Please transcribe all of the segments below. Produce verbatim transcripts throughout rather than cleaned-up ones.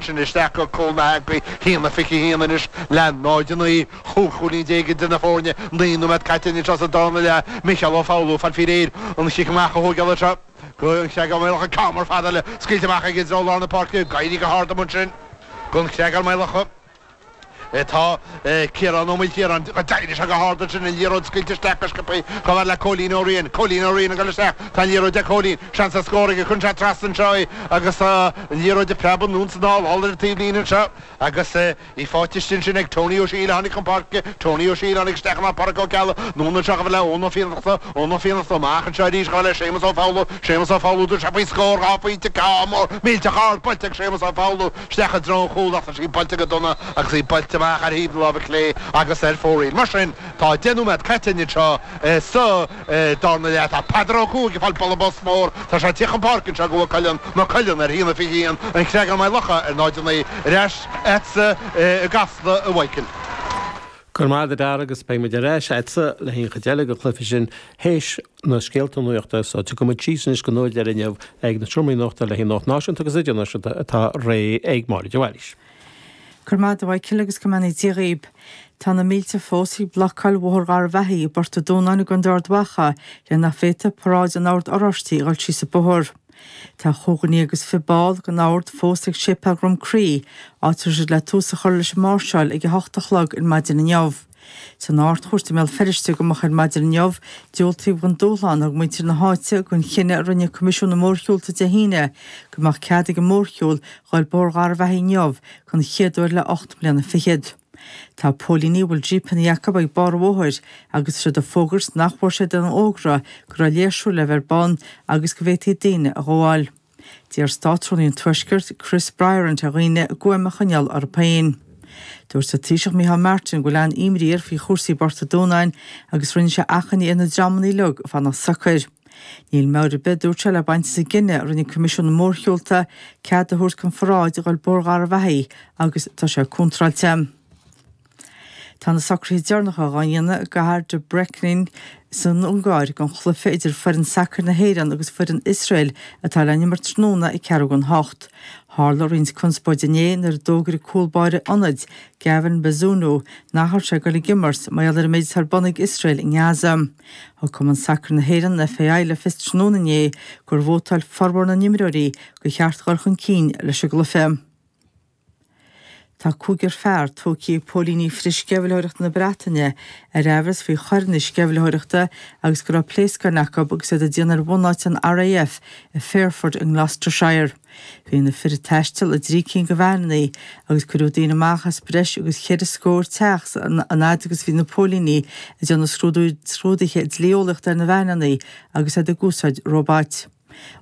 Sin isteach go Cole Maguire haon a fiche haon anois le náid a naoi chúig chúilín déag idir na foirne naoi nóiméad caite anois as an darna leath Micheál Ó Foghlú fáil faoi réir an chic amach a thógáil anseo go an Chreagán Maigh Locha ceann mór fada eile scaoilte amach ag i dtreo lár na páirce ag éirí go hard ansin don Chreagán Maigh Locha. Tá Ciarán Ó Maoilchiaráin go d'éirigh sé go hard ansin an liathróid scaoilte isteach go sciobtha chomh fada le Cóilín Ó Riain. Cóilín Ó Riain ag dul isteach. Tá an liathróid ag Cóilín. Seans ar scór aige. Cuireann sé trasna anseo í agus tá an liathróid ag preabadh anonn is anall thall ar an taobhlíne anseo agus í faighte istigh ansin ag Tony Ó Siadhail a tháinig chun páirce. Tony Ó Siadhail a tháinig isteach in áit Pádraic Ó Ceallaigh. Anonn anseo chomh fada le Eoin Ó Fiannachta. Eoin Ó Fiannachta amach anseo arís chomh fada le Séamus Ó Foghlú. Séamus Ó Foghlú tabharfaidh sé faoi scór dhá phointe ceann mór millteach ard buailte ag Séamus Ó Foghlú isteach i dtreo an chúil ach tá sí buailte go dona agus í buailte amach ar thaobh na láimhe clé agus ar fóraoil. Mar sin, tá deich nóiméad caite anseo sa darna leath. Tá Peadar Ó Cuaig ag fáil bualadh bos mór. Tá sé ag tíocht chun páirce anseo go Maigh Cuilinn, Maigh Cuilinn ar haon a fiche haon, An Creagán Maigh Locha ar náid a naoi. Ar ais agatsa i gCasla, a Mhichael. Go raibh maith agat a Dara agus beidh muid ar ais agatsa le haghaidh an chuid eile den chluiche sin théis na scéalta nuachta so tiocfaidh muid síos anois go Dún Laoghaire inniu ag na seomraí nuachta le haghaidh nuacht náisiúnta agus idirnáisiúnta atá réidh ag Máire de Bhailís. Go raibh maith agat a Mhichael agus go mbeannaí Dia dhaoib. Tá na mílte fós ag blocáil Bhóthar Gharbhachaidh i bPort an Dúnáin i gContae Ard Mhacha le nach bhféadfadh paráid an Oird Oráistigh a dhul síos an bóthar. Tá chúig dhuine agus fiche ball den Ord fós ag Séipéal Dhrom Crí, áit a raibh siad le tús a chur leis an máirseáil ag a hocht a chlog ar maidin inniu. San Ard-Chúirt i mBéal Feirste go moch ar maidin inniu, diúltaíodh don dúshlán a thug muintir na háite don chinneadh a rinne Coimisiún na Mórshiúlta Dé hAoine go mbeadh cead ag an mórshiúl dhul Bóthar Gharbhachaidh inniu don chéad uair le ocht mbliana fichead. Tá póilíní a bhfuil jípeanna acu ag barr an bhóthair agus tá siad ag fógairt nach bhfuair siad aon fhógra go raibh léirshiúl le bheith ar bun agus go bhféadfaí daoine a ghabháil. D'iarr Státrúnaí an Tuaiscirt, Chris Bryant ar dhaoine a gcúram a choinneáil orthu féin. Dúirt an Taoiseach Micheál Martin go bhfuil an-imní air faoi chúrsaí i bPort an Dúnáin agus rinne sé achainí ar na dreamanna uilig fanacht socair. Níl meabhair ar bith, a dúirt sé, le baint as an gcinneadh a rinne Coimisiún na Mórshiúlta cead a thabhairt don pharáid a dhul Bóthar Gharbhachaidh agus tá sé contráilte. Tá na socruithe deireanacha dhá ndéanamh i gcathair Debrecen san Ungáir don chluiche idir foireann sacair na hÉireann agus foireann Iosrael atá le n-imirt tráthnóna ag ceathrú don hocht. Tharla roinnt conspóide inné nuair a d'fhógair cúl báire ionaid, Gavin Bazunu, nach raibh sé ag dul ag imirt mar gheall ar an méid atá ar bun ag Iosrael i nGaza. Thug Cumann Sacair na hÉireann, an FAI, le fios tráthnóna inné gur vótáil formhór na n-imreoirí gur cheart dul chun cinn leis an gcluiche. Tá cúigear fear tógtha ag póilíní frithsceimhlitheoireachta na Breataine ar aimhreas faoi choireanna sceimhlitheoireachta agus go raibh pléascáin acu agus iad ag déanamh ar bhunáit an RAF i Fairford i nGloucestershire. Bhí na fir ag taisteal i dtrí cinn de veaineanna agus cuireadh daoine amach as breis agus cheithre scór teach an fhad agus bhí na póilíní ag déanamh scrúduithe dlí-eolaíochta ar na veaineanna agus iad ag úsáid róbait.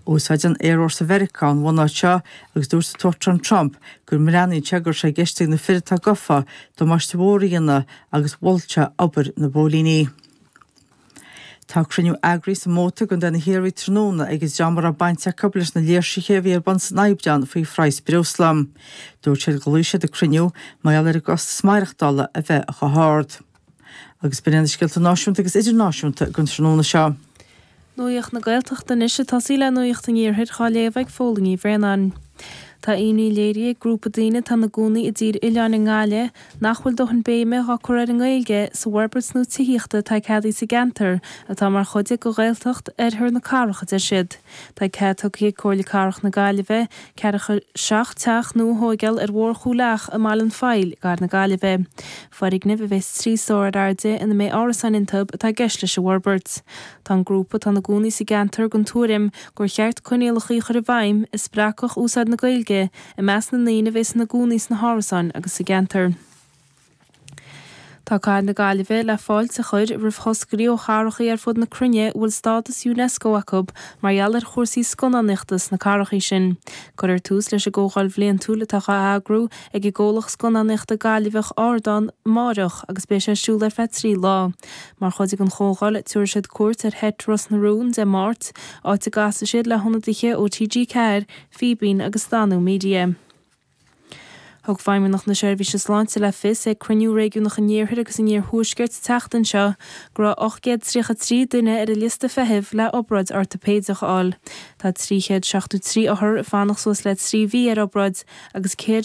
Úsáideann Aerfhórsa Mheiriceá an bhunáit seo agus dúirt an tUachtarán Trump go mbreathnaíonn sé go raibh sé i gceist ag na fir atá gafa damáiste mhór a dhéanamh agus mhol sé obair na bpóilíní. Tá cruinniú eagraithe sa Móta i gContae na hIarmhí tráthnóna ag an dream a raibh baint acu leis na léirsithe a bhí ar bun san Aibreán faoi phraghas breosla. Dúirt siad gur ghlaoigh siad an cruinniú mar gheall ar an gcostas maireachtála a bheith chomh hard. Agus b'in iad na scéalta náisiúnta agus idirnáisiúnta don tráthnóna seo. Nuacht na Gaeltachta anois ag tosaí le Nuacht an Iarthair dhá léamh ag Fódhla Ní Bhraonáin. Tá imní léirithe ag grúpa daoine atá ina gcónaí i dTír Oileáin i nGaillimh nach bhfuil dóthain béime dhá cur ar an nGaeilge sa bhforbairt nua tithíochta atá ceadaithe sa gceantar atá mar chuid de Ghaeltacht Oirthear na Cathrach, a deir siad. Tá cead tugtha ag Comhairle Cathrach na Gaillimhe ceathracha seacht teach nua a thóigeáil ar Bhóthar Chúil Each i mBaile an Phoill, gar na Gaillimhe. Foirgnimh a bheas trí stór ar airde ina mbeidh árasáin iontu atá i gceist leis an bhforbairt. Tá an grúpa atá ina gcónaí sa gceantar den tuairim gur cheart coinníollacha a chur i bhfeidhm a spreagfadh úsáid na Gaeilge i measc na ndaoine a bheas ina gcónaí sna hárasáin agus sa gceantar. Tá Cathair na Gaillimhe le fáilte a chur roimh thoscairí ó chathracha ar fud na cruinne a bhfuil stádas Unesco acu mar gheall ar chúrsaí scannánaíochta sna cathracha sin. Cuirfear tús leis an gcomhdháil bhliantúil atá á eagrú ag an gcomhlacht scannánaíochta Gaillimheach Ardán amáireach agus beidh sé ar siúl ar feadh trí lá. Mar chuid den chomhdháil, tabharfaidh siad cuairt ar sheit Ros na Rún Dé Máirt, áit a gcasfaidh siad le hionadaithe ó T G ceathair, Fíbín agus Danú Media. Thug Feidhmeannacht na Seirbhíse Sláinte le fios ag cruinniú réigiúnach an Iarthair agus an Iarthuaiscirt an tseachtain seo go raibh ocht gcéad tríocha trí duine ar an liosta feithimh le obráid ortaipéideach a fháil. Tá trí chéad seachtó trí othar ag fanacht suas le trí mhí ar obráid agus céad